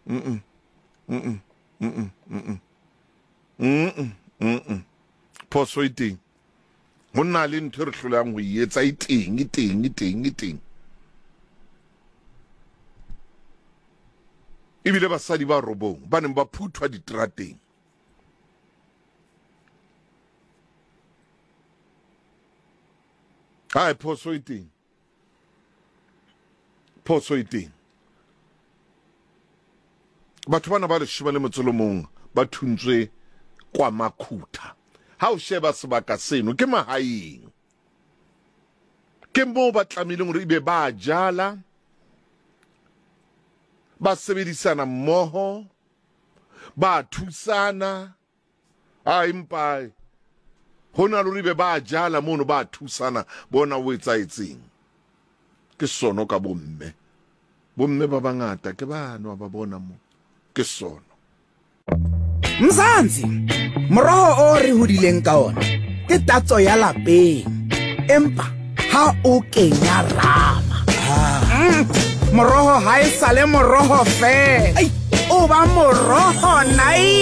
Mm mm mm mm mm mm phoso e teng ho na le ntho e re hlolang ho e etsa e teng e teng e teng e teng ebile basadi ba robong ba neng ba phuthwa diterateng hai phoso e teng phoso e teng batho bana ba leshome le motso le mong ba thuntswe kwa makhutha ha o sheba sebaka seno ke mahaeng ke moo ba tlamehileng hore ebe ba jala ba sebedisana mmoho ba thusana a empa ho na le hore ebe ba jala mono ba thusana bona o etsaetseng ke sono ka bomme bomme ba bangata ke bano ba bona mo ke sono Mzansi, moroho o re hodileng ka ona ke tatso ya lapeng, empa ha o kenya rama. Moroho ha e sale moroho fela, o ba moroho nai.